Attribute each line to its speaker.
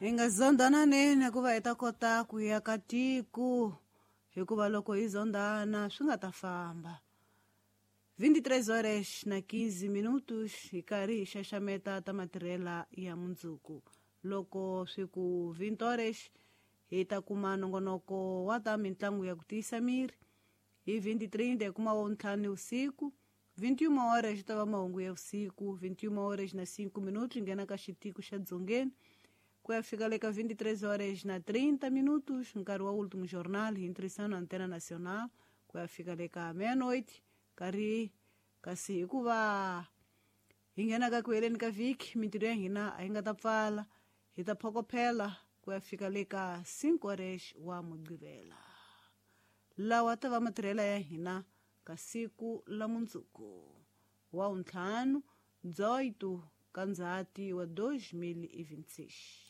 Speaker 1: Hi nga zondhananeni hikuva hi ta kota ku ya ka tiko, hikuva loko hi zondhana swi nga ta famba. 23 horas na 15 minutos hi karhi hi xaxameta ta matirhela ya mundzuku. Loko swi ku 20 horas hi ta kuma nongonoko wa ta mitlangu ya ku tiyisa miri. Hi 20:30 hi kuma wa ntlhanu usiku. 21 horas ta va mahungu ya vusiku. 21 horas na 5 minutos nghena ka xitiko xa dzongeni ku ya fika le ka 23 horas na 30 minutos, nkarhi wa último jornal hi ntirhisano Antena Nacional ku ya fika le ka meia-noite. Karhi kasi hikuva hi nghena ka ku heleni ka vhiki, mintirho ya hina a yi nga ta pfala, hi ta phokophela ku ya fika le ka 5 horas wa Mugqivela. Lawa ta va matirhela ya hina ka siku la mundzuku wa ntlhanu 18 ka Ndzhati wa 2026.